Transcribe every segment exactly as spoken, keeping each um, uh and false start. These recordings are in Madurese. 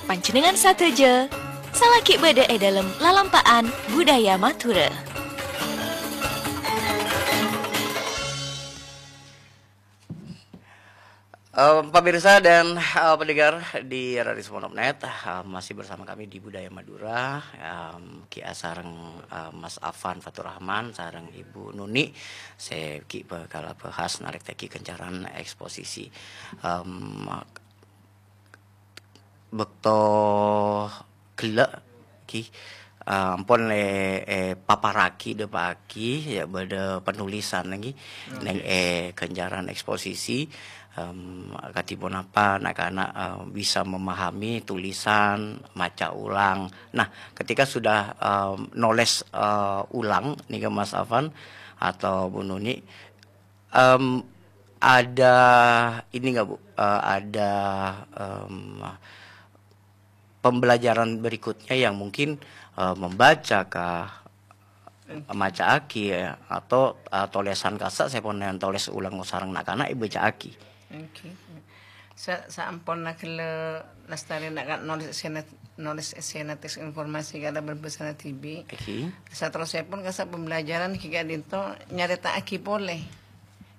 Panjhennengngan sadhâjâ salaghi bâdâ è dhâlem lalampa'an budaya Madhurâ. Eh, pemirsa dan, eh, pendengar di Radio Sumenep Net, eh, masih bersama kami di Budaya Madura, em, Ki A sareng, eh, Mas Afan Faturrahman sareng Ibu Nuni, sè ghi' bhâkal abhâhas narèk tèngghi ghâncaran eksposisi. Em, bâkto ghellâ' ghi, eh, ampon è-, èpaparraghi, dhâpa'aghi, ya, bâdâ penulisan ghi, neng è ghâncaran eksposisi, em, kadhi ponapa na'-kana', eh, bisa memahami tulisan, maca ulang. Nah, ketika sudah, em, nolès, eh, ulang, nèka Mas Afan atau Bu Nuni, em, ada ini nggak, Bu? Eh, ada, em, pembelajaran berikutnya yang mungkin, eh, membaca kah, maca'aghi, ya, atau, eh, tolèsan kassa' sè pon ètolès ulang sareng na'-kana' èbâca'aghi. Oke. Sa-, saamponna ghellâ' lastarè na'-kana' nolès èssèna, nolès èssèna teks informasi kalabân bhâsana dhibi'. Oke. Saterrossèpon kassa' pembelajaran ghi ka'dinto nyarèta'aghi polè.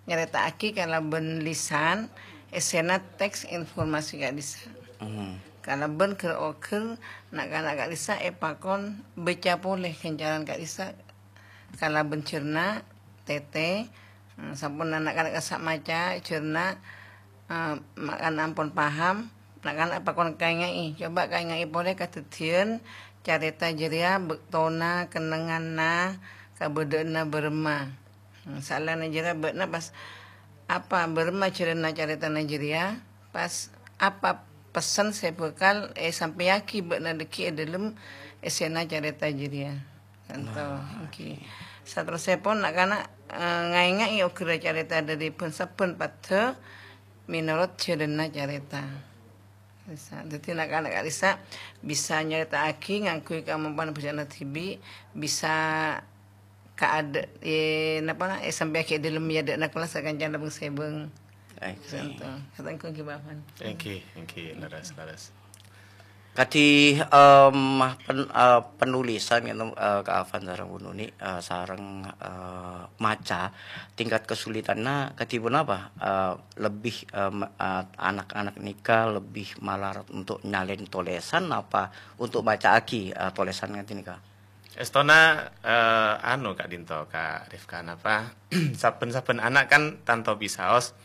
Nyarèta'aghi kalabân lisan èssèna teks informasi ka'dissa'. Hmm. Kalabân ghâr-oghâr na'-kana' ka'dissa' èpakon bâca polè ghâncaran ka'dissa' kalabân jhârna', tètè, eh, sampon na'-kana' kassa' maca jhârna', eh, mangkana ampon paham, na'-kana' èpakon kaènga'è. Coba kaènga'è polè kadhâddhiyân carèta jârèya bâktona, kennengnganna, kabâdâ'ânna bârâmma. Hmm, saellana jârèya bâ'na pas apa bârâmma jhâlânna carètana jârèya, pas apa pessen sè bhâkal èsampèyaghi bâ'na dhâggi' è dhâlem èssèna carèta jârèya. Kanto, nah, èngghi. Saterrossèpon na'-kana', eh, ngaènga'è oghârra carèta dhâri bân-sabbhân paddhâ mènorot jhâlânna carèta. Bisa. Dhâddhi na'-kana' ka'dissa' bisa nyarèta'aghi ngangghuy kamampowan bhâsana dhibi', bisa kaadâ', eh, napa, eh, sampèyaghi è dhâlem è adâ'na kelas sakancana bâng-sèbâng. Oke. Conto. Kata engko' ghi, Pak Afan. Èngghi, èngghi, leres, leres. Kadhi, em, pen-, eh, penulisan, gitu, eh, Ka Afan sareng Bu Nuni, eh, sareng, eh, maca, tingkat kesulitanna kadhi ponapa? Eh, lebih, em, eh, anak-anak nèka lebih malarat untuk nyalèn tolèsan apa untuk maca'aghi, eh, tolèsan ngèngghi nèka? Èstona, eh, anu, ka'dinto, Ka Rifka, napa? Sabbhân-sabbhân ana' kan tanto bisaos,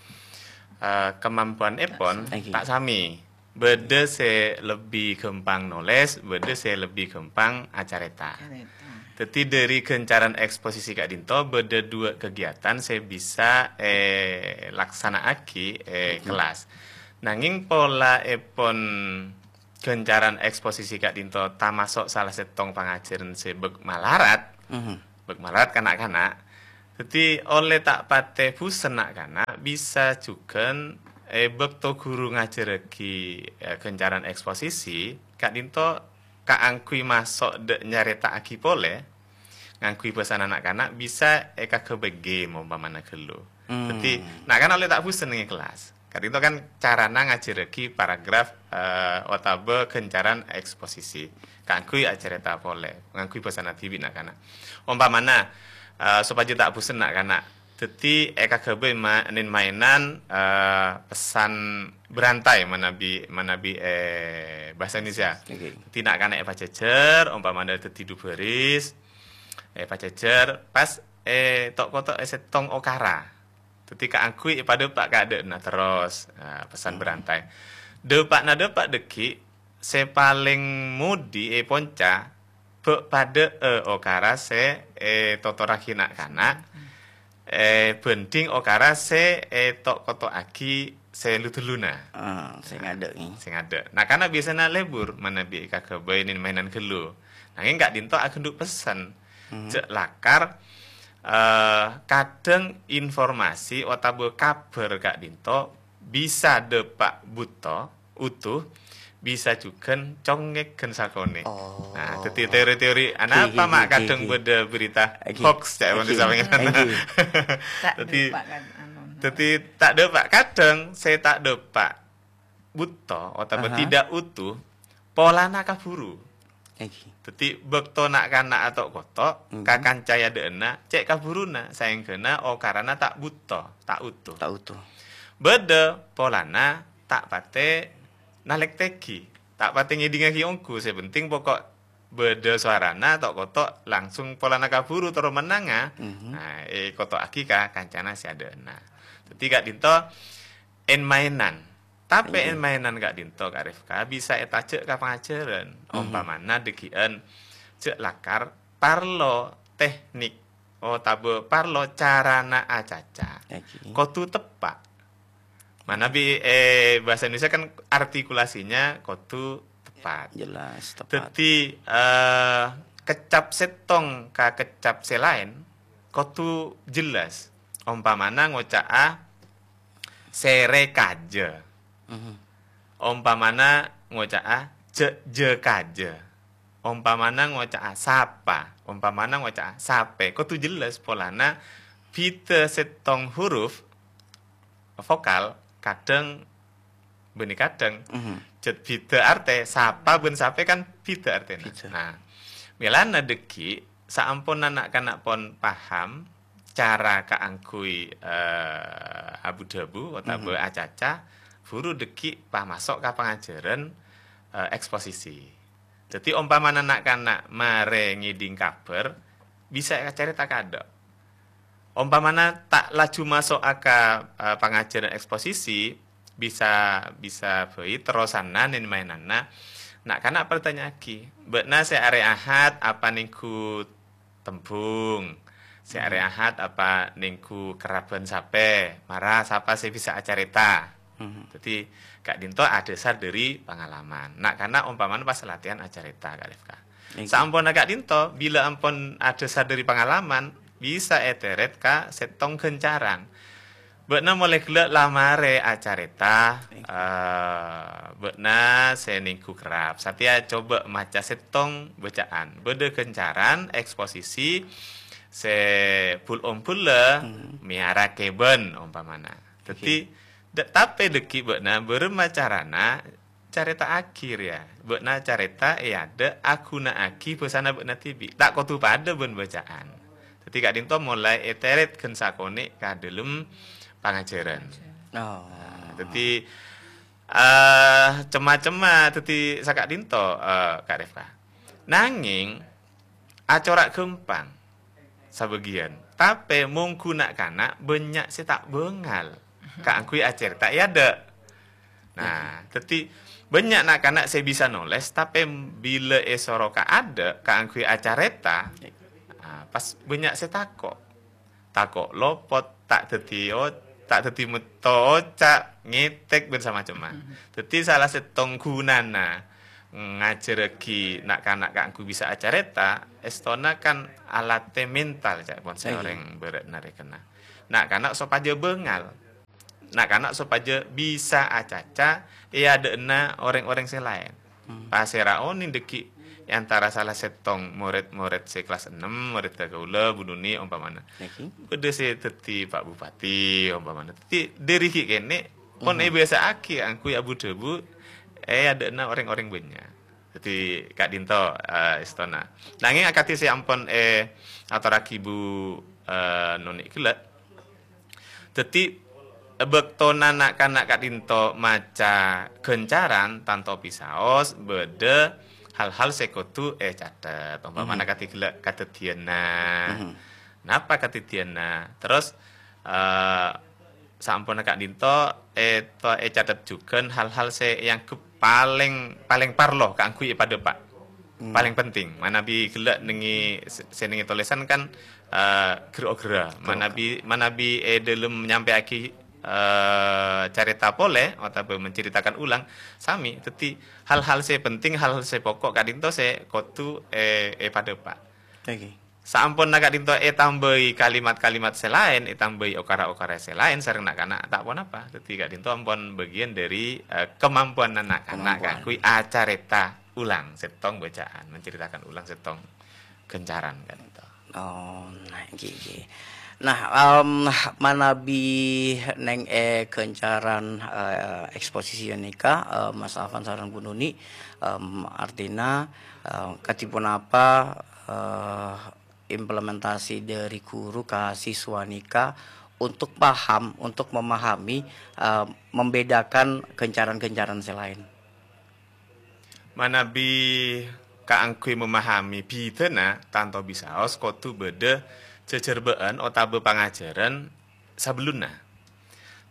eh, kemampuanèpon ta' sami. Bâdâ sè lebbi ghâmpang nolès, bâdâ sè lebbi ghâmpang acarèta. Carèta. Dhâddhi, dhâri ghâncaran eksposisi ka'dinto, bâdâ duwâ' kegiatan sè bisa èlaksana'aghi è kelas. Nangèng pola'èpon ghâncaran eksposisi ka'dinto tamaso' sala sèttong pangajhârân sè bâk malarat, bâk malarat ka na'-kana'. Dhâddhi, ollè ta' patè bhusen na'-kana', bisa jhughân è bâkto ghuru ngajhârraghi, eh, ghâncaran eksposisi, ka'dinto kaangghuy maso' dâ' nyarèta'aghi polè, ngangghuy bhâsana na'-kana' bisa èkaghâbây game ompamana ghâllu. Hmm. Dhâddhi, na'-kana' ollè ta' bhusen neng è kelas. Ka'dinto kan carana ngajhârraghi paragraf, eh, otabâ ghâncaran eksposisi. Kaangghuy acarèta polè, ngangghuy bhâsana dhibi' na'-kana'. Ompamana, eh, sopajâ ta' bhusen na'-kana'. Dhâddhi èkaghâbây ma-, nin-, mainan, eh, pesan berantai manabi, manabi, eh, bhâsa Indonesia. Oke. Dhâddhi na'-kana' èpajhâjhâr, ompamana dhâddhi du bhâris, èpajhâjhâr, pas, eh, to'-koto' è sèttong okara. Dhâddhi kaangghuy èpadâpa' ka adâ'na terros, nah, pesan berantai. Dâpa'na dâpa' dhâggi', sè palèng modi è ponca, bâ' padâ'â okara sè ètotorraghi na'-kana', èbhândhing okara sè èto'-koto'aghi sè lu-dhuluna. Ah, sè ngadâ', eh. Sè ngadâ'. Na'-kana' biasana lebur manabi èkaghâbây nin-, mainan ghâllu. Nangèng ka'dinto aghândhu' pessen. Jhâ' lakar, eh, kadhâng informasi otabâ kabhâr ka'dinto bisa dâpa' bhuto, utuh, bisa jhughân congngèghân sakonè'. Oh. Nah, dhâddhi teori-teori, anapa ma' kadhâng bâdâ berita hoax, ca'èpon sampèyan. Dhâddhi, ta' dâpa' kadhâng sè ta' dâpa' bhuto otabâ tidak utuh, polana kabhuru. Èngghi. Dhâddhi, bâkto na'-kana' ato'-koto', Mhm. ka kanca è adâ'na, cè' kabhuruna, saèngghâna okarana ta' bhuto, ta' oḍu. Ta' oḍu. Bâḍâ polana ta' patè nalèktèghi, ta' patè ngèḍingngaghi ongghu, sè penting pokok bâḍâ sowarana, to'-koto' langsung polana kabhuru terro mennanga, Mhm. nah, èkoto'aghi ka kancana sè adâ'na. Dhâddhi, ka'ḍinto, en-maènan. Tapè Iya. en-maènan ka'ḍinto, Ka' Rifka, bisa ètajhâk ka pangajhârân. Mhm. Ompamana ḍâggi'ân jhâ' lakar parlo teknik otabâ parlo carana acaca. Èngghi. Kodhu teppa'. Manabi, eh, bahasa Indonesia kan artikulasinya kodhu tepat. Jelas, tepat. Dhâddhi, eh, kecap sèttong ka kecap sè laèn kodhu jelas. Ompamana ngoca'a sèrè kajâ. Mhm. Ompamana ngoca'a jhâ', jhâ' kajâ. Ompamana ngoca'a sapa. Ompamana ngoca'a sapè. Kodhu jelas polana bhidhâ sèttong huruf vokal, kadhâng bânnè kadhâng. Mhm. Jhât bhidhâ artè, sapa bân sapè kan bhidhâ artèna. Bhidhâ. Nah, mèlana ḍâggi', saamponna na'-kana' pon paham cara kaangghuy, eh, abu-dhâbu otabâ Mhm. acaca, buru ḍâggi' pamaso' ka pangajhârân, eh, eksposisi. Dhâddhi, ompamana na'-kana' marè ngèḍing kabhâr, bisa ècarèta kaḍâ'. Ompamana ta' laju maso'a ka, eh, pangajhârân eksposisi, bisa, bisa bhâi terrosanna en-maènanna. Na'-kana' partanyaaghi, "Bâ'na sè arè Ahad apa nèngghu tembhung? Sè arè Mhm. Ahad apa nèngghu kerrab bân sapè? Mara sapa sè bisa acarèta?" Mhm. Dhâddhi, ka'ḍinto adhâsar ḍâri pangalaman. Na'-kana' ompamana pas latihan acarèta, Ka' Rifka. Èngghi. Saamponna ka'ḍinto, bilâ ampon adhâsar ḍâri pangalaman, bisa ètèrèt ka sèttong ghâncaran. Bâ'na molaè ghellâ' la marè acarèta, Èngghi. eh, bâ'na sè nèngghu kerrab. Satèya coba maca sèttong bâca'an. Bâḍâ ghâncaran, eksposisi, sè bul-ombulâ, Hmm. mèyara kèbân, ompamana. Dhâddhi, Èngghi. ḍâ-, tapè ḍâggi' bâ'na bârâmma carana carèta'aghi rèya. Bâ'na carèta è aḍâ' aghuna'aghi bhâsana bâ'na dhibi'. Ta' kodhu paḍâ bân bâca'an. Dhâddhi ka'ḍinto molaè ètèrèt ghân sakonè' ka ḍâlem pangajhârân. Oh. Nah, dhâddhi, eh, cem-macemma dhâddhi saka'ḍinto, eh, Ka' Rifka. Nangèng, acora' ghâmpang sabâgiyân. Tapè mongghu na'-kana' bânnya' sè ta' bângal kaangghuy acarèta è aḍâ'. Nah, dhâddhi bânnya' na'-kana' sè bisa nolès, tapè bilâ èsoro ka aḍâ' kaangghuy acarèta, ah, pas bânnya' sè tako'. Tako' lopot, ta' dhâddhi o-, ta' dhâddhi metto oca', ngètèk, bân samacemma. Dhâddhi sala sèttong ghunana ngajhârrâghi na'-kana' kaangghuy bisa acarèta, èstona kan alatè mental, ca'èpon sè Iya. orèng bârâ'na rèkenna. Na'-kana' sopajâ bângal. Na'-kana' sopajâ bisa acaca è aḍâ'na orèng-orèng sè laèn. Hmm. Pasèra onèng ḍâggi' è antara sala sèttong morèd-morèd sè kelas ennem, morèdhâ kaulâ, Bu Nuni, ompamana. Èngghi. Bâḍâ sè dhâddhi Pak Bupati, ompamana. Dhâddhi, ḍâri ghi' kènè', pon Mhm. èbâsa'aghi angghuy abu-dhâbu è aḍâ'na orèng-orèng bânnya'. Dhâddhi, ka'ḍinto, eh, èstona. Nangèng akadhi sè ampon, eh, atorraghi Bu, eh, Nuni ghellâ', Dhâddhi, è bâktona na'-kana' ka'ḍinto maca ghâncaran, tanto bisaos bâḍâ hal-hal sè kodhu ècatet. Ompamana Mhm. kadhi ghellâ' kadhâddhiyânna. Mhm. Napa kadhâddhiyânna? Terros, eh, saamponna ka'ḍinto èto-, ècatet jhughân hal-hal sè èangghep palèng, palèng parlo kaangghuy èpaḍâpa'. Hmm. Palèng penting, manabi ghellâ' nèngè, sè nèngè tolèsan kan, eh, ghâr-oghârrâ. Ghâr-oghârrâ. Manabi, manabi è ḍâlem nyampèyaghi, eh, carèta polè otabâ menceritakan ulang, sami. Dhâddhi, hal-hal sè penting, hal-hal sè pokok ka'ḍinto sè kodhu è-, èpaḍâpa'. Oke. Saamponna ka'ḍinto ètambâi kalimat-kalimat sè laèn, ètambâi okara-okara sè laèn sareng na'-kana', ta' ponapa. Dhâddhi ka'ḍinto ampon bâgiyân ḍâri, eh, kemampuanna na'-kana' Kemampuan. kaangghuy acarèta ulang sèttong bâcaan, menceritakan ulang sèttong ghâncaran ka'ḍinto. Oh, nah, ghi, ghi. Nah, em, manabi neng è gancaran, eh, eksposisi nèka, eh, Mas Afan sareng Bu Nuni, em, artina, eh, kadhi ponapa, eh, implementasi dari guru ka siswa nèka untuk paham, untuk memahami, eh, membedakan gancaran-gancaran sè laèn? Manabi kaangghuy mamahami bhidhâna, tanto bisaos kodhu bâdâ jhâjhârbâ'ân otabâ pangajhârân sabellunna.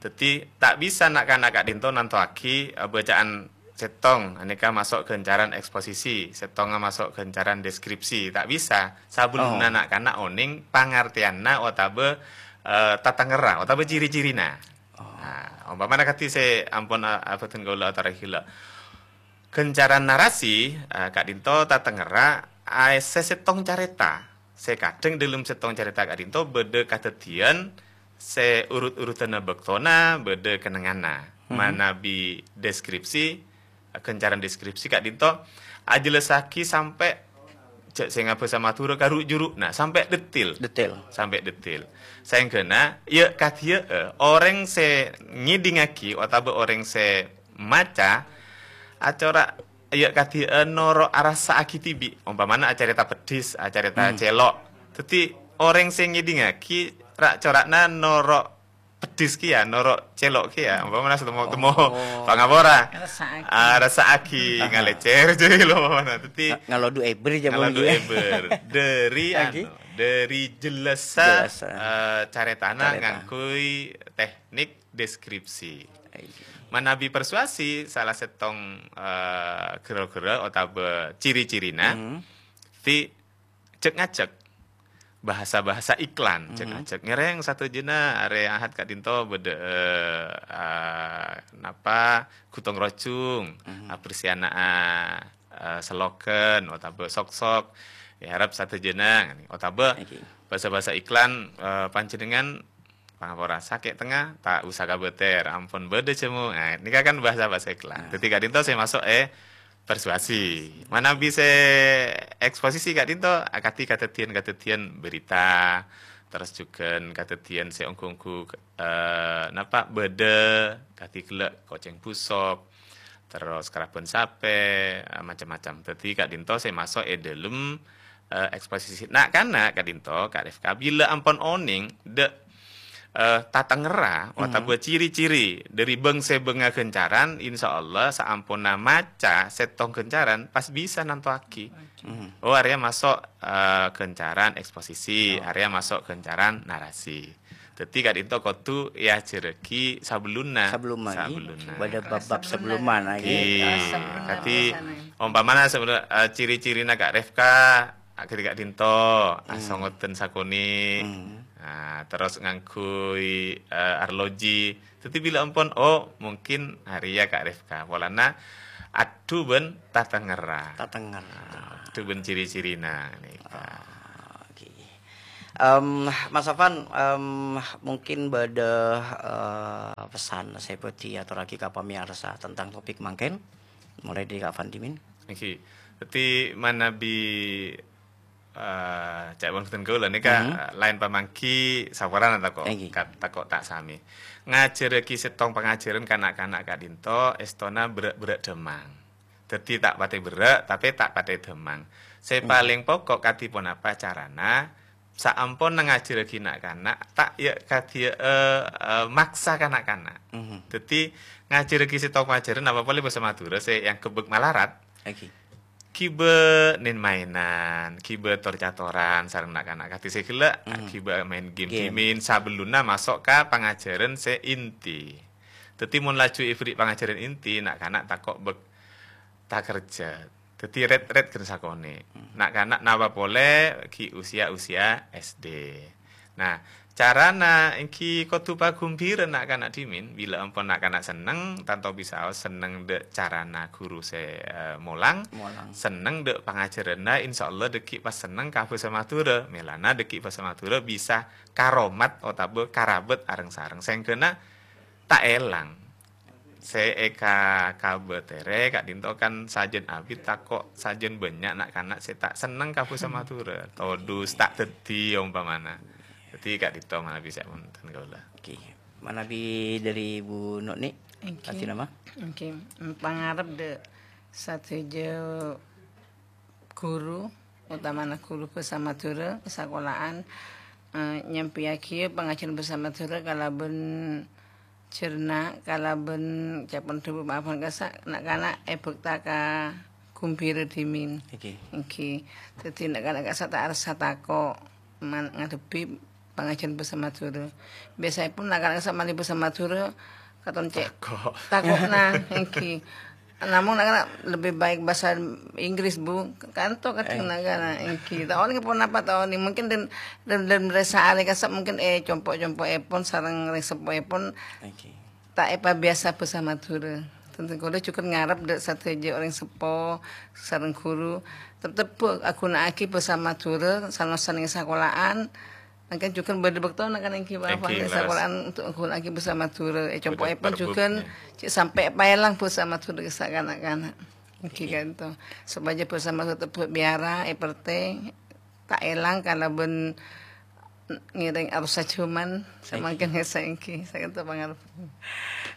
Dhâddhi, ta' bisa na'-kana' ka'dhinto nantowaghi, eh, bacaan sèttong, anèka maso' gancaran eksposisi, sèttongnga maso' gancaran deskripsi. Ta' bisa. Sabellunna Oh. na'-kana' onèng pangartèyanna otabâ, eh, tatengngerra otabâ ciri-cirina. Oh. Nah, ompamana kadhi sè ampon a-, abâdhân kaulâ atorraghi ghellâ'. Gancaran narasi, eh, ka'dhinto tatengngerra aèssè sèttong carèta. Sè kadhâng dâlem sèttong carèta ka'dhinto bâdâ kadhâddhiyân sè urut-urutanna bâktona, bâdâ kennengnganna. Mhm. Manabi deskripsi, gancaran deskripsi ka'dhinto ajhellasaghi sampè' jhâ' sè ngabhâsa Madhurâ karu'-juru', nah, sampè' detil. Detil. Sampè' detil. Saèngghâna, ya' kadhiyâ'â, orèng sè ngèdingngaghi otabâ orèng sè maca, acora', ya' kadhiyâ'â noro' arassa'aghi dhibi'. Ompamana acarèta peddhis, acarèta Hmm. cèlo'. Dhâddhi, orèng sè ngèdingngaghi ra'-cora'na noro' peddhis kèya, noro' cèlo' kèya. Ompamana sè temmo-temmo Oh. pangapora. Rassa'aghi. Ah, rassa'aghi, Aha. ngalècèr jârèya lho, ompamana. Dhâddhi, Nga-, ngalodu èbher, jâ, ngalodu mungkin. èbher. Dâri, Lagi? anu, dâri jellassa, Jellassa. eh, carètana Carèta. ngangghuy teknik deskripsi. Iya. Manabi persuasi, salah sèttong, eh, ghârâ-ghârâ otabâ ciri-cirina, Hmm. ti cek-ngajek. Bahasa-bahasa iklan, Mhm. cek-ngajek. Ngèrèng sadhâjâna arè Ahad ka'dhinto bâdâ, eh, ah, napa, ghutong rojung, Mhm. abersiana, ah, eh, slogan, otabâ sok-sok. Èarep sadhâjâna, otabâ Oke. bahasa-bahasa iklan, eh, panjhennengngan pangapora sakè' tengnga, ta' usa kabâtèr, ampon bâdâ jhâmo. Nah, nèka kan bahasa-bahasa iklan. Nah. Dhâddhi ka'dhinto sè maso' è persuasi. Manabi sè eksposisi ka'dhinto akadhi kadhâddhiyân-kadhâddhiyân berita, terros jhughân kadhâddhiyân sè ongghu-ongghu, eh, napa, bâdâ, kadhi ghellâ' kocèng busok, terros karaban sapè, eh, macem-macem. Dhâddhi ka'dhinto sè maso' è dâlem eh, eksposisi na'-kana' ka'dhinto, Kak Rifka, bilâ ampon onèng dâ', eh, tatengngerra Hmm. otabâ ciri-ciri dâri bâng-sèbângnga gancaran, insyaallah saamponna maca sèttong gancaran, pas bisa nantowaghi. Hmm. Oh, arèya maso', eh, gancaran eksposisi, Oh. arèya maso' gancaran narasi. Dhâddhi ka'dhinto kodhu èajhârrâghi sabellunna. Sabellunna, ngghi. Sabellunna. Bâdâ bab-bab sabellunna, ngghi. Ngghi. Sabellunna Kadhi biasana. Ompamana sabellunna, eh, ciri-cirina Kak Rifka, akadhi ka'dhinto, Hmm. asongodhân sakonè'. Hmm. Nah, terros ngangghuy, eh, arloji. Dhâddhi bilâ ampon, oh, mungkin arèya Kak Rifka. Polana adhu bân tatengngerra. Tatengngerra. Nah, adhu bân ciri-cirina, nèka. Ah, oke. Em, Mas Afan, em, mungkin bâdâ, eh, pesan sè bhâdhi atorraghi ka pamèyarsa tentang topik mangkèn, mulai dâri Kak Afan dhimèn. Ngghi. Dhâddhi manabi, eh, ca'èpon bhâdhân kaulâ nèka, Mhm. eh, laèn pamangghi saporana tako', Ngghi. ka-, tako' ta' samè. Ngajhârrâghi sèttong pangajhârân ka na'-kana' ka'dhinto èstona berrâ'-berrâ' dhâmmang. Dhâddhi ta' patè berrâ', tapè ta' patè dhâmmang. Sè Hmm. palèng pokok kadhi ponapa carana, saamponna ngajhârrâghi na'-kana', ta' ya' kadhiyâ, eh, eh, maksa ka na'-kana'. Mhm. Dhâddhi ngajhârrâghi sèttong pangajhârân apa polè bhâsa Madhurâ sè èangghep malarat. Oke. Ghibâ nèn-maènan, ghibâ tor-catoran sareng na'-kana' kadhi sè ghellâ', Hmm. ghibâ maèn game Game. dhimèn sabellunna maso' ka pangajhârân sè inti. Dhâddhi mon laju èbherri' pangajhârân inti, na'-kana' tako' bek-, takerjhât. Dhâddhi ret-ret ghân sakonè'. Hmm. Na'-kana' napa polè ghi' usia-usia S D. Nah, carana ènggi kodhu paghâmbhirân na'-kana' dhimèn. Bilâ ampon na'-kana' senneng, tanto bisaos senneng dâ' carana ghuru sè, eh, molang, Molang. senneng dâ' pangajhârânna, insyaallah dâgghi' pas senneng ka bhâsa Madhurâ. Mèlana dâgghi' bhâsa Madhurâ bisa karomat otabâ karabât areng-sareng. Saèngghâna ta' èlang. Sè èka-, kabâtèrè ka'dhinto kan sajân abit tako' sajân bânnya' na'-kana' sè ta' senneng ka bhâsa Madhurâ. Todus ta' dhâddhi ompamana. Dhâddhi ka'dinto manabi sè wonten kaulâ. Oke. Manabi dhâri Bu Noni, Èngghi. Artèna ma? Èngghi. Pangarep dâ' sadhâjâ ghuru, otamana ghuru bhâsa Madhurâ, sakola'an, eh, nyampèyaghi pangajhiyân bhâsa Madhurâ kalabân jhârna, kalabân capan dhâbu maafan kassa', na'-kana' èbhâkta ka ghumbhira dhimèn. Èngghi. Èngghi. Dhâddhi na'-kana' kassa' ta' arassa tako' man-, ngadhebbhi pangajhiyân bhâsa Madhurâ. Biyasaèpon na'-kana' kassa' malè bhâsa Madhurâ, katon cè' Tako'. tako'na, èngghi. Namong na'-kana' lebbi baik bhâsa Inggris, Bu. Kanto kadhâng Eh. na'-kana', èngghi. Ta' onèng ponapa, ta' onèng. Mungkin dâ-, dâ-, dâ-, dâri saarè kassa' mungkin, eh, compo'-compo'èpon sareng rèng seppoèpon Èngghi. ta' èpabiyasa bhâsa Madhurâ. Dhâddhi kaulâ jhughân ngarep dâ' sadhâjâ orèng seppo sareng ghuru, tep-, tep-, aghuna'aghi bhâsa Madhurâ, san-, sanèka sakola'an, mangkèn jhughân bâdâ bâktona kan èngghi Èngghi, bhâbhân leres. sakola'an untuk aghuna'aghi bhâsa Madhurâ. È Bâdâ compo'èpon jhughân, perbuknya. cè' sampè' paèlang bhâsa Madhurâ kassa' na'-kana'. Èngghi Èngghi. kanto. Sopajâ bhâsa Madhurâ tep-, biyara, èpertè, ta' èlang kalabân ngèrèng arus sajhâman, Èngghi. samangkèn kassa' èngghi. Saènto pangarep.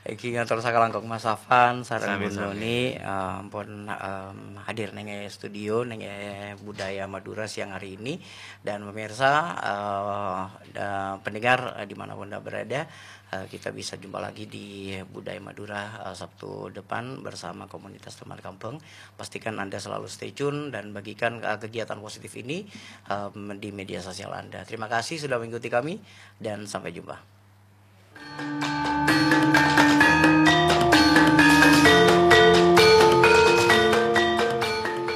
Èngghi ngator sakalangkong Mas Afan sareng Sami-sami. Bu Noni, eh, ampon, em, hadir nèng è studio, nèng è Budaya Madura siang hari ini. Dan pemirsa, eh, da-, pendengar, eh, di mana pun Anda berada, eh, kita bisa jumpa lagi di Budaya Madura, eh, Sabtu depan bersama komunitas Tembhâr Kambhâng. Pastikan Anda selalu stay tune dan bagikan, eh, kegiatan positif ini, em, di media sosial Anda. Terima kasih sudah mengikuti kami dan sampai jumpa.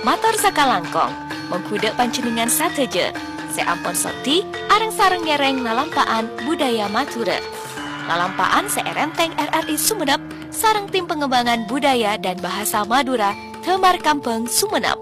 Mator sakalangkong, mongghu dâ' panjhennengngan sadhâjâ sè ampon soddhi areng-sareng ngèrèng lalampa'an budaya Madhurâ. Lalampa'an sè èrèntèng R R I Sumenep sareng Tim Pengembangan Budaya dan Bahasa Madura, Tembhâr Kambhâng Sumenep.